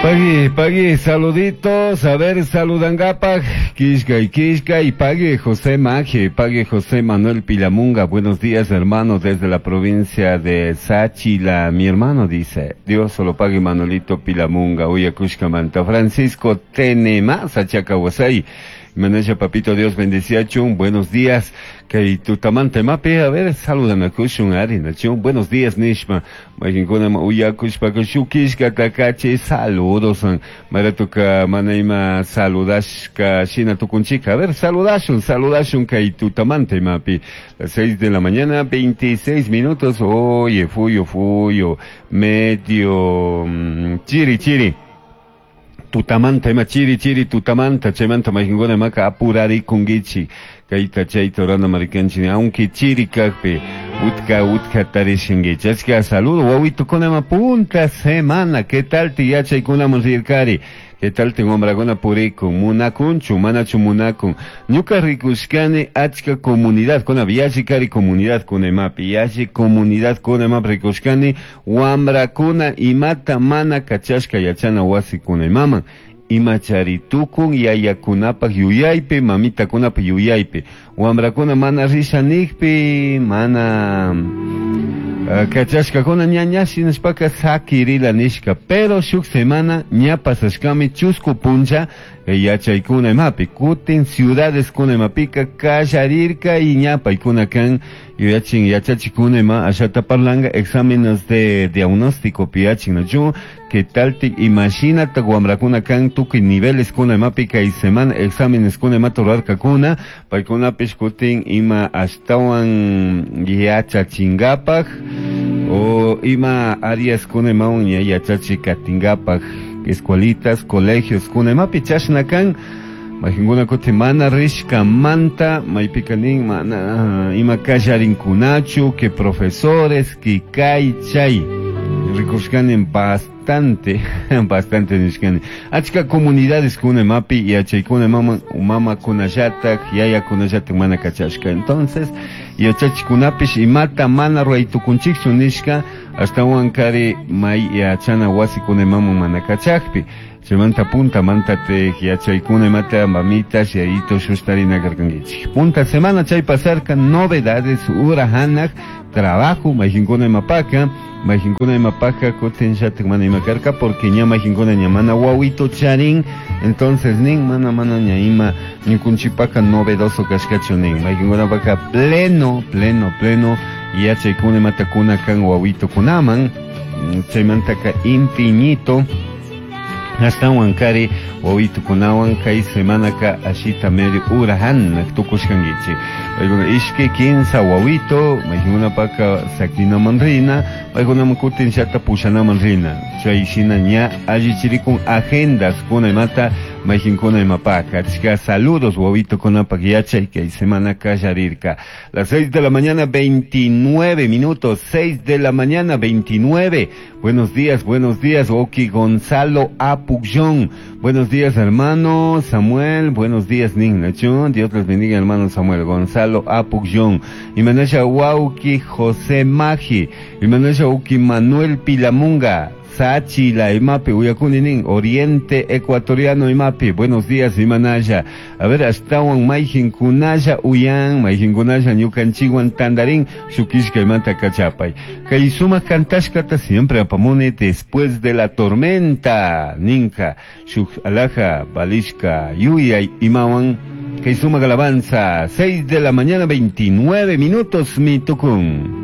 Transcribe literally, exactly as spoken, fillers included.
Pagui, pagui, saluditos, a ver, saludangapaj, Quisca y Quisca y pague José Maje, pague José Manuel Pilamunga, buenos días hermano desde la provincia de Sáchila, mi hermano dice, Dios solo pague Manuelito Pilamunga, Uyakushkamanta, Francisco Tenema, Sachacahuasay, Manesha Papito Dios bendecía chun, buenos días, kay tutamanta mapi, a ver, saludan a kushun ari, nachun, buenos días nishma, majinkuna uyakushpa shukishka takachi, saludos, maratuka manaima saludashka shina tukunchika, a ver, saludashun, saludashun kay tutamanta mapi, las seis de la mañana, veintiséis minutos, oye, fuyo, fuyo, medio, chiri, chiri. Tutamanta ima chiri chiri tutamanta chaymanta mayqinkuna imaka apurarikunkichik kayta chayta rurana marikanchik aunque chiri kaqpi utka utka tarishinkichik achka saludo wawitukuna ima punta semana ¿qué tal ti yachaykunaman rirkari? ¿Qué tal te wamrakuna purikun munakunchu manachu munakun ñuka rikushkani achka comunidad kuna yalli kari comunidad kuna imapi yalli comunidad kuna imapi rikushkani wamrakuna imata mana kachashka yachana wasikuna imaman imachari tukun yayakunapaq yuyaypi mamitakunapaq yuyaypi wamrakuna mana risha nijpi mana uh, kachashkakuna ña ña shinashpaka sakirila nishka pero shuk semana ña pasashkami chusku puncha yachaykuna imapi kutin ciudades kuna imapika kallarirka y ña paykuna kan yuyachin yachachikuna ima ashata parlanga exámenes de diagnóstico piyachin nachu que tal ti imashinata wamrakuna kan tukuy niveles kuna imapi kay semana exámenes kuna imata rurarkakuna paykunapish kutin ima ashtawan yachachinkapak o ima áreas kuna imawan ña yachachi katinkapak escuelitas, colegios, kuna imapi chashna kan mayqinkuna kutin mana rishkamanta maypika nin mana ima kallarinkunachu que profesores que kay chay rikushkani bastante bastante nishkani achka comunidades kuna imapi yachaykuna mama mamakunallatak yayakunallatak mana kachashka entonces yachachikunapish imata mana ruraytukunchikchu nishka ashtawan kari may yachana wasikuna imaman mana kachakpi chaymanta punta manta te yachaykuna imata mamitas yayitos shustarina karkankichik punta semana chay pasarka novedades ura hanaq trabajo mayqinkuna imapaka mayqinkuna imapaka kutin llatak mana ima karka porque ña mayqinkuna ña mana wawito charin entonces nin mana mana ña ima ñukunchipaka novedoso kashkachu nin mayqinkunapaka pleno pleno pleno yachaykuna imata kuna kan wawitukunaman chaymantaka infinito ashtawan kari wawitukunawan kay semanaka ashita medio urahan tukushkankichik paykuna ishkay kinsa wawito mayqinkunapaka sakinaman rina paykunaman kutin llata pushanaman rina chay shina ña allichirikun agendas kuna imata mayqinkuna imapaka achka saludos wawitukunapaq yachay kay semana kallarirka las seis de la mañana veintinueve minutos seis de la mañana veintinueve buenos días buenos días Oki Gonzalo Apugyón buenos días hermano Samuel buenos días Ningnachun Dios les bendiga hermano Samuel Gonzalo Apugyón Imanasha Wauki José Maji Imanasha Uki Manuel Pilamunga Sáchila, imapi, uyakuni nin, Oriente Ecuatoriano imapi, buenos días imanaya. A ver, ashtawan mayqinkunalla uyan, mayqinkunalla ñukanchikwan tandarin, shukishka imanta kachapay. Kay sumaq kantashkata siempre apamuni después de la tormenta, ninka, shuk alaja, balishka, yuyay imawan, kay sumaq alabanza, seis de la mañana, veintinueve minutos, mi tukun.